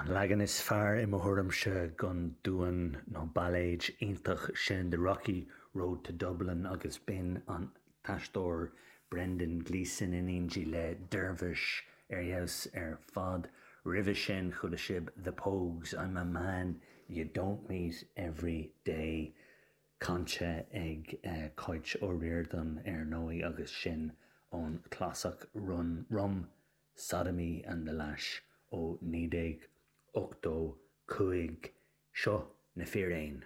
An leagan is fearr i mo thuairimse den duan nó bailéid iontach sin The Rocky Road to Dublin agus b'in an t-aisteoir Brendan Gleeson in éindí le Dervish ar fheabhas ar fad. Roimhe sin chuala sibh The Pogues, I'm a Man You Don't Meet Every Day cainte ag Cáit Ó Ríordáin ar ndóigh agus sin ón chlasach Run Rum Sodomy and the Lash ó 1985. Seo Na Fíréin.